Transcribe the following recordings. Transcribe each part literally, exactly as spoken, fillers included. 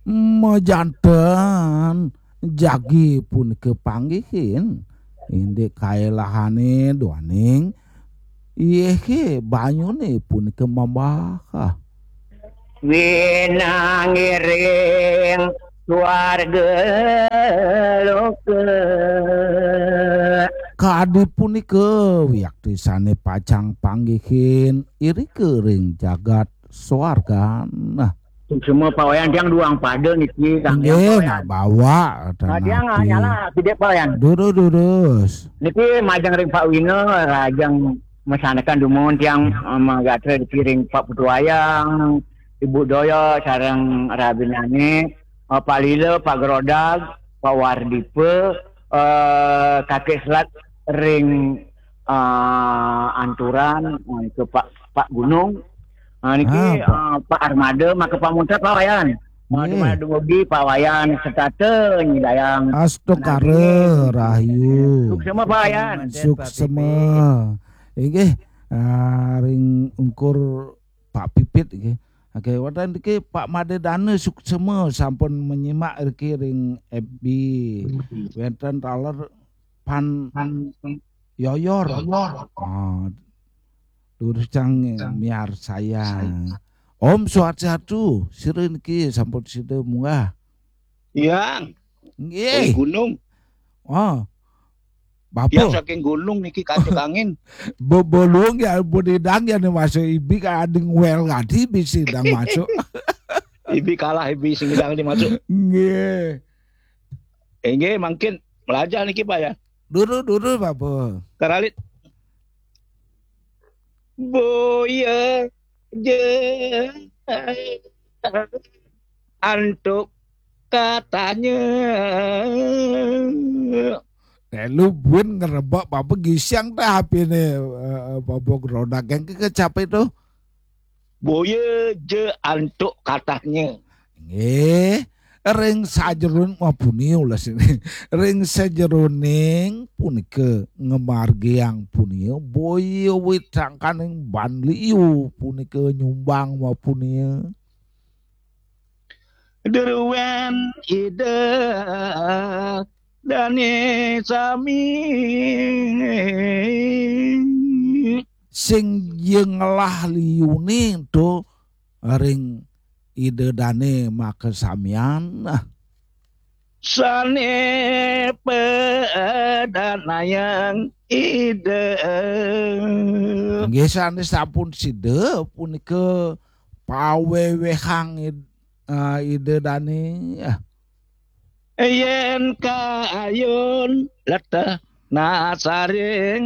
Majanten jagi punika panggihin indik kaelahane duaning yehe banyune punika mambah. Winangiring swarga loka. Kadi punika wiakti sane pacang panggihin irika ring jagat swargan. Suksma Pak Wayan, tiang duang pada niki, Kang. Inggih, Wayan. Nak bawa, nah, tiang, ah, nyala, tidak, Pak Wayan. Durus, durus. Niki majeng ring Pak Wina, rajeng masanekan dumun tiang, eh, magatra niki ring Pak Putu Wayang, Ibu Doyo, sareng rabinane, eh, Pak Lila, Pak Gerodag, Pak Wardipa, eh, Kakek Selat ring, eh, Anturan, eh, ke Pak, Pak Gunung, eh, niki, ah, Pak, eh, Pak Armada, maka pamuntat, Pak Wayan. Eh, nggih. Di mana dumugi, Pak Wayan, setata nyidayang. Astungkara, rahayu. Suksma, Pak Wayan. Suksma. Inggih, ah, ring ungkur Pak Pipit nggih. Oke, wonten niki Pak Made Dana Suksema sampun menyimak niki ring F B. Wonten taler Pan Yoyor. Yoyor. Ah, durus cang miarsayang. Om Swastiastu, sira niki sampun sida munggah. Iya. Nggih. Gunung. Oh. Bapa. Tiang saking gunung niki kancing angin. Bebolong ya, budidang ya nih masuk ibi ka ading wel gadi bisi dang masuk. Ibi kalah ibi sing dang di masuk. Nggih. Inggih, mangkin melajah niki, Pak, ya. Dulu, dulu, Bapa. Karalit. Boya je antuk katanya. Eh, lu buin ngerebak Bapa gisiang teh H P-ne, eh, Bapa Gerodak yang ke, kecape tuh. Boya je antuk katanya. Nggih, ring sajeroning mapunia ulah sini. Ring sajeroning punika ngamargiang punia, boya wit sangkaning ban liu punika nyumbang mapunia. Druwen Ida dane sami. Sing ya ngelah liune ento ring Ida dane makasamian. Sane padanayang Ida. Nggih, sane sampun sida punika pawewehang Id-, eh, Ida dane. Yen kayun leteh nasaring.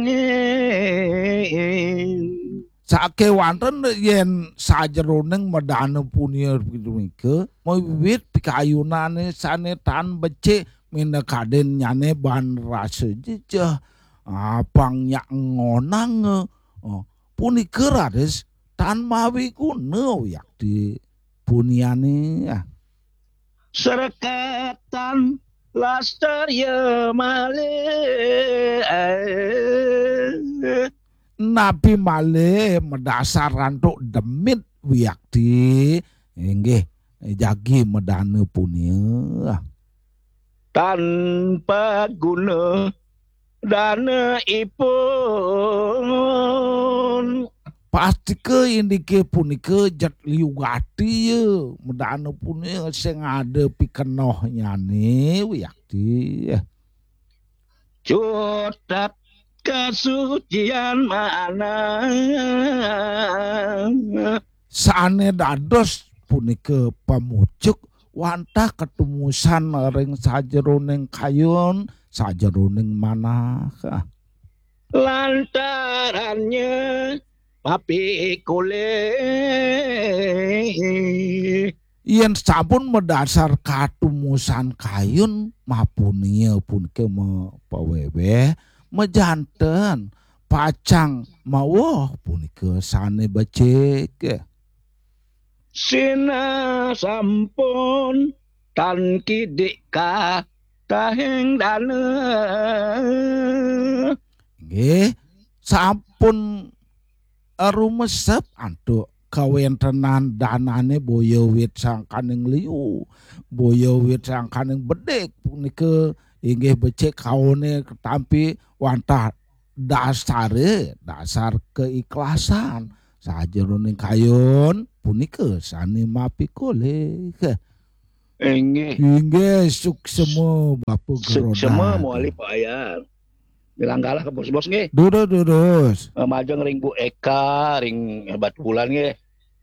Sakewanten yen sajeroning medana punia punika, mawiwit pikayunane sane tan becik minakadin nyane ban rasa jejeh, apang nyak ngonang, oh, punika raris tan mawi guna wiakti puniane. Srekatan lastarya malih. Napi malih madasar antuk demit wiakti, inggih jagi medana punia. Tanpa guna dana ipun. Pastika indike punika jet liu gati ya, medana punia sing ada pikenohnyane wiakti. Cutet kasucian manah. Sane dados punika pamucuk wantah katumusan ring sajeroning kayun, sajeroning manah. Lantarannya papikulih. Yen sampun madasar katumusan kayun, mapunia punika mapaweweh, majanten, pacang maweh punika sane becik. Sinah sampun tan kidik katahing dana. Nggih, sampun rumesep antuk kawéntenan danané boya wit sangkaning liu, boya wit sangkaning bedik punika inggih becik kaoné ketampi wantah dasaré, dasar keikhlasan. Sajeroning kayun punika sané mapikolih. Inggih. Inggih, suksema Bapak Geroda. Suksema mawali Pak Wayan. Bilang galah ke bos-bos nggih. Durus, durus. Eh, majeng ring Bu Eka, ring Hebat Bulan nggih.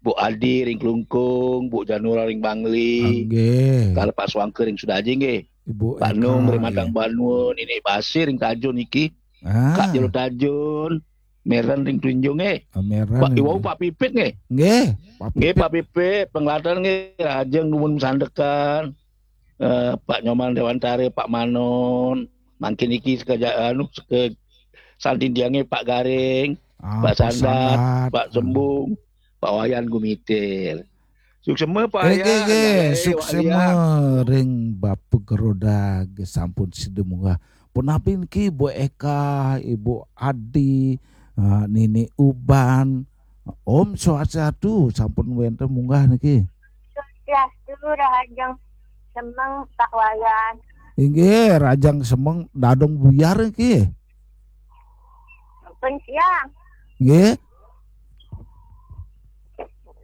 Bu Adi ring Klungkung, Bu Janura ring Bangli. Nggih. Kala Pak Suangke ring Sudaji nggih. Ibu Pak Eka, Nung ring Matang Banun, ini Basir ring Tajun iki. Ah. Kak Jero Tajun, Meren ring Tunjung nggih. Ah, Meren Pak nggih. Iwau Pak Pipit nggih. Nggih, Pak Nggih, Pipit. Pak Pipit, penglatan nggih, rajeng nuwun sandekan. Eh, Pak Nyoman Dewantara, Pak Manon, mangkin iki sekeja anu seke santindiange Pak Garing, ah, Pak Pak Sandat, Sandat. Pak Sembung, Pak Wayan Gumitir. Suksema Pak Wayan, nggih, nggih, nggih, suksema Wayan. Ring Bapak Geroda nggih sampun sida munggah. Punapi niki Bu Eka, Ibu Adi, eh, Nini Uban. Om Swastiastu, sampun wénten munggah niki. Swastiastu, Rahajeng Semeng, Pak Wayan. Inggih, Rajang Semeng, Dadong Buyar niki. Pun siang. Nggih.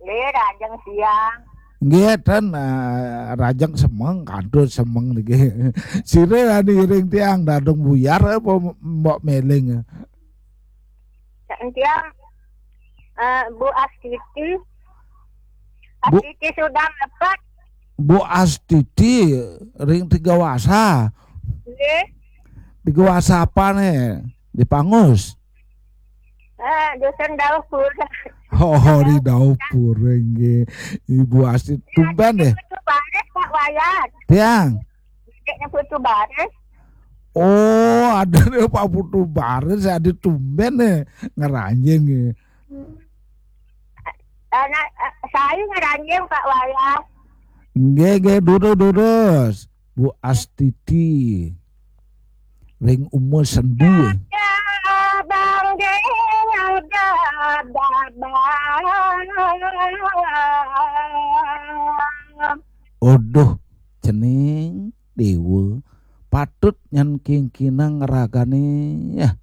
Nggih, Rajang siang. Nggih, ten, eh, Rajang Semeng, kantun Semeng niki. Sira anu iring tiang, Dadong Buyar apa Mbok Meling? Tiang, eh, Bu Astiti. Bu Astiti sudah lepas. Bu Astiti ring Tiga Wasa. Nggih. Tiga Wasa apa nih? Di Pangus. Eh, Dusun Dauh Pura. Oh, di Dauh Pura nggih. Ibu Astiti tumben deh. Putu Baris, Pak Wayan. Tiang. Adiknya Putu Baris. Oh, ada nih Pak Putu Baris, ada tumben nih ngeranjing nggih. Anak, eh, saya ngeranjing, Pak Wayan. Nggih, nggih, durus, durus. Bu Astiti. Ring umur sendi. Ada Bang Ding, ada Bang. Aduh, cening dewa. Patut nyan kingkinang ragane. Ya.